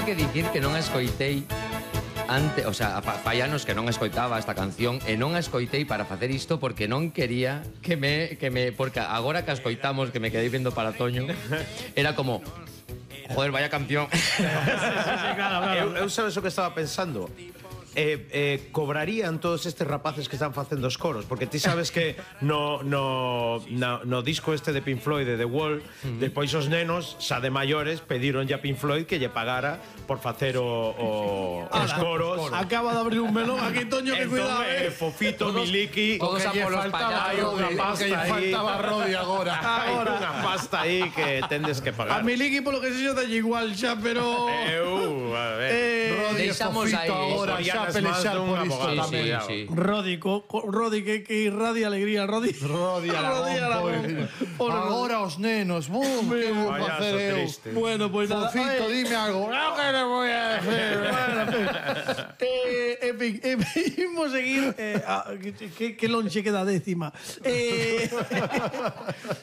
que dicir que non a escoitei o sea, fai anos que non escoitaba esta canción e non a escoitei para facer isto porque non quería que me porque agora que a escoitamos, que me quedei vendo para Toño, era como joder, vaya canción. Claro. Eu sabes o que estaba pensando? Cobrarían todos estes rapaces que están facendo os coros, porque ti sabes que no disco este de Pink Floyd, de The Wall, depois os nenos, xa de maiores, pediron a Pink Floyd que lle pagara por facer os coros. Acaba de abrir un melón aquí, Toño, que cuidado. Fofito, Miliki, todos a polos payasos. Que lle faltaba Rodi agora. Hai unha pasta aí que tendes que pagar. A Miliki, polo que se xo, dalle igual xa, pero... A ver. Rodi e deixamos Fofito aí. agora xa pelexar por isto tamén. Sí. Rodi, que irradia alegría, Rodi. Rodi Aragón, agora os nenos, que vou facer eu? Triste. Bueno, pois nada. Fofito, dime algo. Non que le voy a decir. En fin, imos seguir que lonxe queda décima.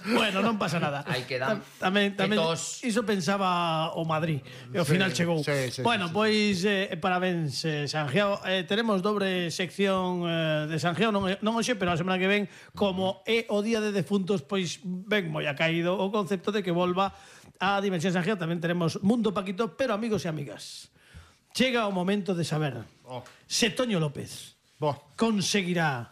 Bueno, non pasa nada. Aí quedan. Tamén Tos. iso pensaba o Madrid e ao final chegou. Bueno, pois parabéns, Sangiao. Tenemos dobre sección de Sangiao, non hoxe, pero a semana que ven, como é o día de defuntos, pois ben moi ha caído o concepto de que volva a Dimensión Sangiao. Tamén tenemos Mundo Paquito, pero amigos e amigas, chega o momento de saber se Toño López conseguirá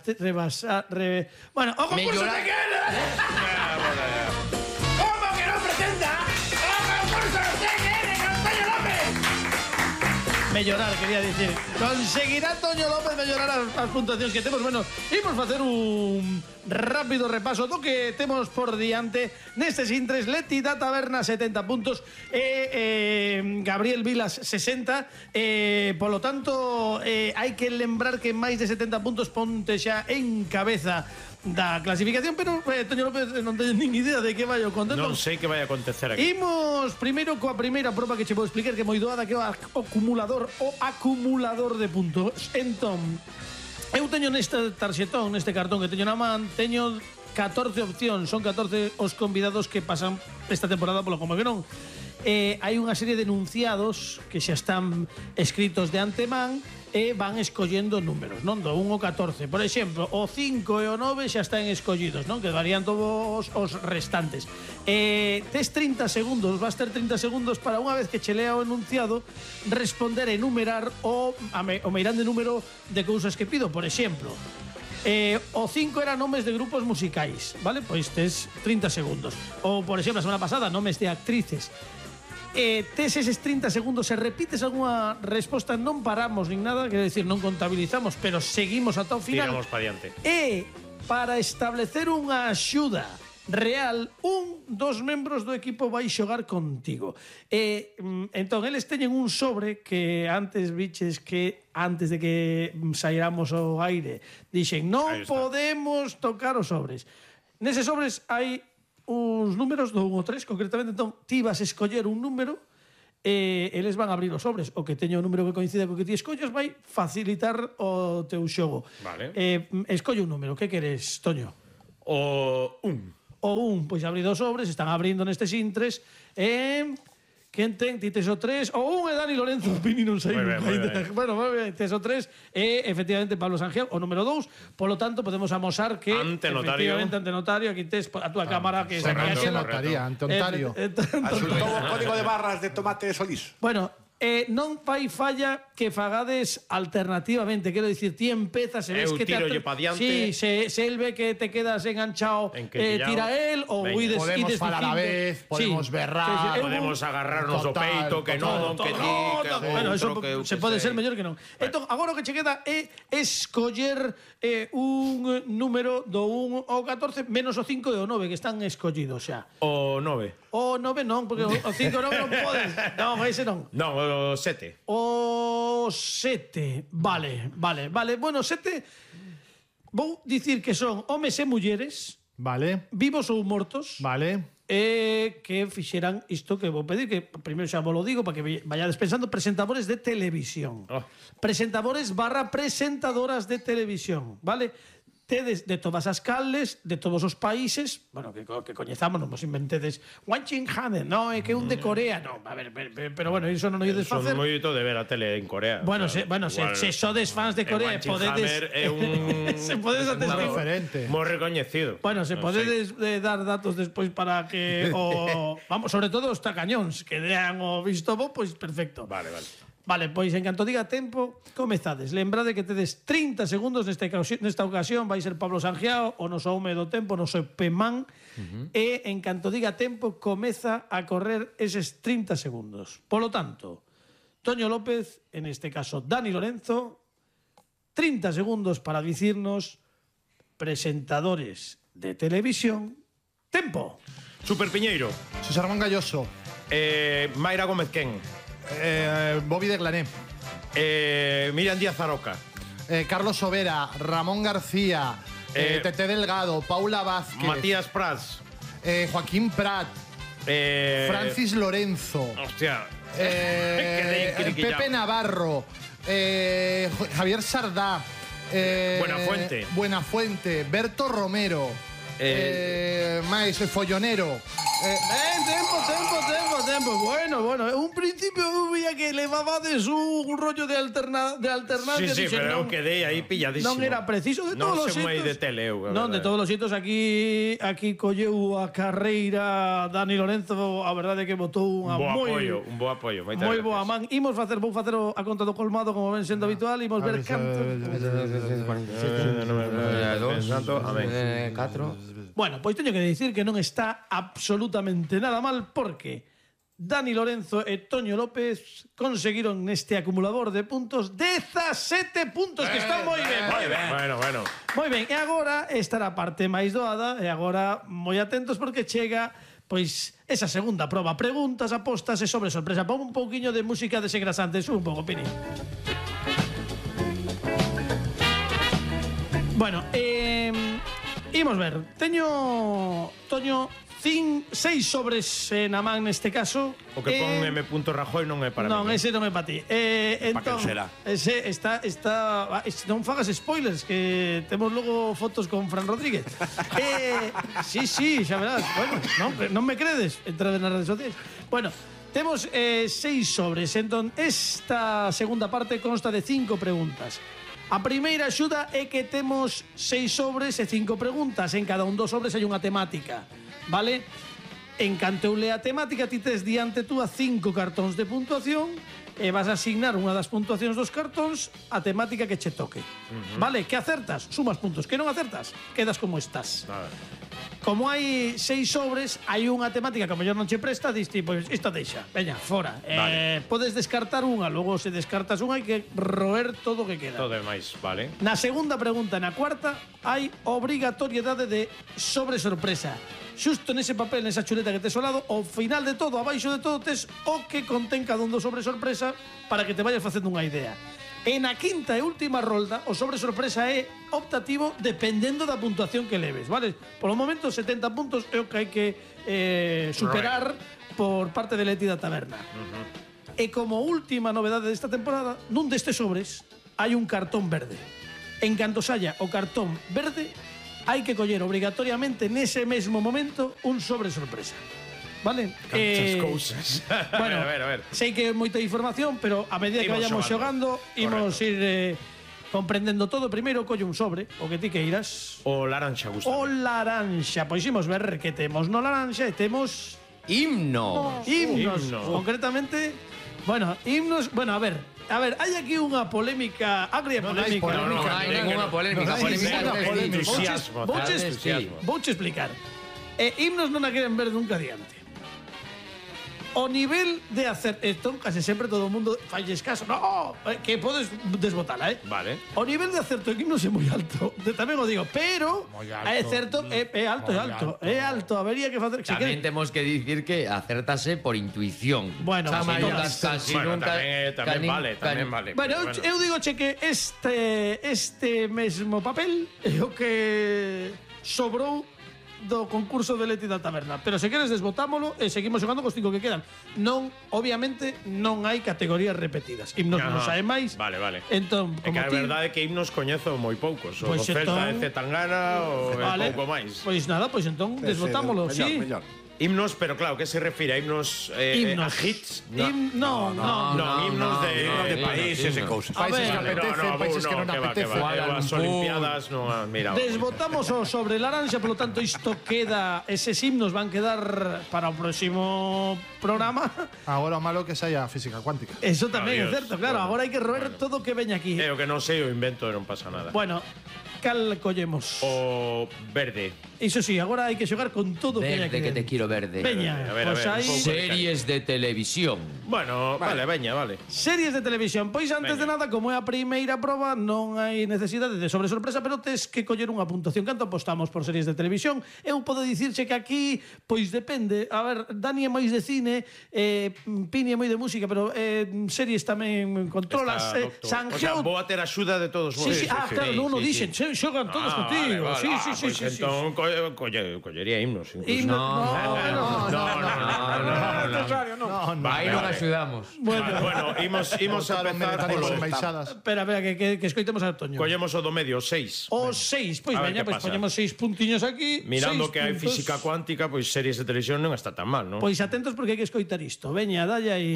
rebasar. Bueno, o concurso de que ¿cómo que no presenta o concurso de que con Toño López? Mellorar, quería decir. Conseguirá Toño López mellorar as puntuacións que temos? Bueno, imos facer un rápido repaso do que temos por diante nestes intres. Leti da Taberna 70 puntos e Gabriel Vilas 60. Polo tanto, hai que lembrar que máis de 70 puntos ponte xa en cabeza da clasificación, pero Toño López non teño nin idea de que vai o contento. Non sei que vai a acontecer aquí. Imos primeiro coa primeira proba que che vou explicar, que é moi doada, que é o acumulador de puntos. Entón, eu teño neste tarxetón, neste cartón que teño na man, teño 14 opcións, son 14 os convidados que pasan esta temporada polo Como que non. Hai unha serie de enunciados que xa están escritos de antemán e van escollendo números, non? Do 1 ao 14. Por exemplo, o 5 e o 9 xa están escollidos, non? Quedarían todos os restantes. Tes 30 segundos, vas ter 30 segundos para, unha vez que che lea o enunciado, responder e enumerar o meirande número de cousas que pido. Por exemplo, o 5 era nomes de grupos musicais, vale? Pois tes 30 segundos. Ou, por exemplo, a semana pasada, nomes de actrices. Tes eses 30 segundos, se repites algunha resposta, non paramos nin nada, quero decir, non contabilizamos, pero seguimos ata o final. Tiramos para diante. E para establecer unha axuda real, un dos membros do equipo vai xogar contigo. Entón, eles teñen un sobre que antes biches que antes de que saíramos ao aire dixen, non podemos tocar os sobres. Neses sobres hai uns números do 1 ao 3, concretamente. Entón, ti vas a escoller un número e eles van a abrir os sobres. O que teño o número que coincida co que ti escollas vai facilitar o teu xogo. Vale. Escolle un número. Que queres, Toño? O 1. O 1, pois abrido os sobres, están abrindo nestes intres. Quen ten? Ti tes o 3. O 1 é Dani Lorenzo Pini, non sei. Bueno, tes o 3 e efectivamente Pablo Sangiao, o número 2. Polo tanto, podemos amosar que ante notario, aquí tes a túa cámara que se notaría, ante Ontario. Asuntou o código de barras de Tomate Solís. Bueno, non fai falla que fagades alternativamente. Quero dicir, ti empezas e ves que te tirolle pa diante. Sí, se el ve que te quedas enganchado, tira él ou ides podemos falar a vez, podemos berrar, podemos agarrarnos o peito, que non, que ti, que bueno, eso se pode ser mellor que non. Entón, agora o que che queda é escoller un número do 1 ao 14 menos o 5 e o 9 que están escollidos xa. O 9. O 9 non, porque o 5 e o 9 non podes. Non, ese non. Non, o 7. O 7. Vale. Bueno, 7 vou dicir que son homes e mulleres. Vale. Vivos ou mortos. Vale. Que fixeran isto que vou pedir, que primeiro xa vos lo digo para que vayades pensando, presentadores de televisión. Presentadores / presentadoras de televisión, vale? tedes de todas as calles, de todos os países, bueno, que coñezamos, non vos inventedes Wanjin Hanen, no, é que un de Corea, no, a ver, pero bueno, iso non o ides facer. Son moito de ver a tele en Corea. Bueno, se sodes fans de Corea, podedes é un se podedes atestar diferente. moi recoñecido. Bueno, se podedes dar datos despois para que vamos, sobre todo os tacañóns que dean o visto bo, pois perfecto. Vale. Vale, pois en canto diga tempo, comezades. Lembrade que tedes 30 segundos nesta ocasión, vai ser Pablo Sangiao, o noso home do tempo, o noso Pemán, e en canto diga tempo, comeza a correr eses 30 segundos. Polo tanto, Toño López, en este caso Dani Lorenzo, 30 segundos para dicirnos presentadores de televisión. Tempo. Super Piñeiro. José Ramón Galloso. Mayra Gómez Ken. Bobby de Glané. Miriam Díaz Aroca. Carlos Sobera. Ramón García. Tete Delgado. Paula Vázquez. Matías Prats. Joaquín Prat. Francis Lorenzo. Hostia. Pepe Navarro. Javier Sardá. Buenafuente. Berto Romero. Máis Follonero. Tempo. Bueno, un principio veía que levabades un rollo de alternancia. Sí, pero eu quedei aí pilladísimo. Non era preciso de todos os xeitos. Non se moi de tele, Non, de todos os xeitos aquí colleu a carreira Dani Lorenzo, a verdade que botou un bo apoio. Moi boa man. Vou facer a conta do colmado como ven sendo habitual, imos ver canto. 4. Bueno, pois teño que dicir que non está absolutamente nada mal porque Dani Lorenzo e Toño López conseguiron neste acumulador de puntos 17 puntos, que está moi ben. Bueno. Moi ben, e agora estará a parte máis doada, e agora moi atentos porque chega pois esa segunda proba, preguntas, apostas e sobre sorpresa. Pon un pouquiño de música desengrasante, un pouco, Pini. Bueno, imos ver. Teño, Toño, 6 sobres na man neste caso. O que pon M. Rajoy non é para mí. Non, ese non é para ti. Entón, será? ese está non fagas spoilers, que temos logo fotos con Fran Rodríguez. Sí, xa verás. Bueno, non me credes, entrade nas redes sociais. Bueno, temos 6 sobres. Entón, esta segunda parte consta de 5 preguntas. A primeira axuda é que temos 6 sobres e 5 preguntas. En cada un dos sobres hai unha temática, vale? En canto eu lea a temática, ti tes diante tú a 5 cartóns de puntuación e vas a asignar unha das puntuacións dos cartóns a temática que che toque. Vale? Que acertas, sumas puntos. Que non acertas, quedas como estás. Como hai 6 sobres, hai unha temática que a mellor non che presta, diste, pois esta deixa, veña, fora. Podes descartar unha, logo se descartas unha hai que roer todo o que queda. Todo demais, vale. Na segunda pregunta, na cuarta, hai obrigatoriedade de sobre sorpresa. Xusto nese papel, nesa chuleta que tes ao lado, ao final de todo, abaixo de todo, tes o que contén cada un do sobre sorpresa para que te vayas facendo unha idea. E na quinta e última rolda, o sobre sorpresa é optativo dependendo da puntuación que leves, vale? Polo momento, 70 puntos é o que hai que superar por parte de Leti da Taberna. E como última novedade desta temporada, nun destes sobres hai un cartón verde. En canto saia o cartón verde, hai que coller obrigatoriamente nese mesmo momento un sobre sorpresa. Vale? Cantas cousas. Bueno, a ver. sei que é moita información, pero a medida que vayamos xogando, imos ir comprendendo todo. Primeiro colle un sobre, o que ti queiras. O laranxa, gusta. O laranxa. Pois imos ver que temos no laranxa e temos Himnos. Concretamente, bueno, himnos, bueno, a ver, hai aquí unha polémica, agria polémica. Non hai ninguna polémica. Vouche explicar. Himnos non a queren ver nunca adiante. O nivel de hacer... Esto casi sempre todo o mundo falles caso. No, que podes desbotala, Vale. O nivel de acerto en himnos é moi alto. Tamén o digo, pero é certo, é alto. É alto, habería que facer... Tamén temos que dicir que acértase por intuición. Bueno, casi nunca... Tamén vale. Bueno, eu digo que este mesmo papel é o que sobrou do concurso de Leti da Taberna. Pero se queres desbotámolo e seguimos xogando cos 5 que quedan. Non, obviamente, non hai categorías repetidas. Himnos non sae máis. Vale, vale. Entón, É que a verdade é que himnos coñezo moi poucos. O Pois do Celta entón- e Zetangana o vale, pouco máis. Pois nada, pois entón desbotámolo, sí. Mellor. Himnos, pero claro, que se refire a himnos a hits? No, himnos de países e cousas. A Países ver, que apetecen, países que non apetecen. As Olimpiadas non han mirado. desbotamos o sobre laranxa, polo tanto isto queda, eses himnos van quedar para o próximo programa. Agora o malo que saia física cuántica. Eso tamén é Adiós. certo, claro, agora hai que roer todo o que veña aquí. É o que non sei, o invento e non pasa nada. Bueno, cal collemos? O verde. Iso sí, agora hai que xogar con todo o que veña Verde, aquí. que te quiero verde. Veña, A ver, pois un hai pouco. Series de televisión. Bueno, vale, veña, vale. series de televisión. Pois antes de nada, como é a primeira proba, non hai necesidade de sobre sorpresa, pero tes que coller unha puntuación. Canto apostamos por series de televisión? Eu podo dicirche que aquí, pois depende. A ver, Dani é máis de cine, Pini é moi de música, pero series tamén controlas. Está, doctor. Sanjeo... O sea, vou a ter axuda de todos vos. Sí, sí, claro, non o dixen, xogan todos contigo. Vale, Sí, vale. sí, sí, Pois sí, sí. entón collería himnos. Incluso. Himno- Aí non axudamos. Bueno, imos a empezar Militantes polo... embaixadas. Espera, que escoitemos a Toño. Collemos o do medio, 6. O 6, pois A ver veña, que pois pasa. poñemos 6 puntiños aquí. Mirando 6 que hai puntos. física cuántica, pois series de televisión non está tan mal, non? Pois atentos porque hai que escoitar isto. Veña, dalle aí.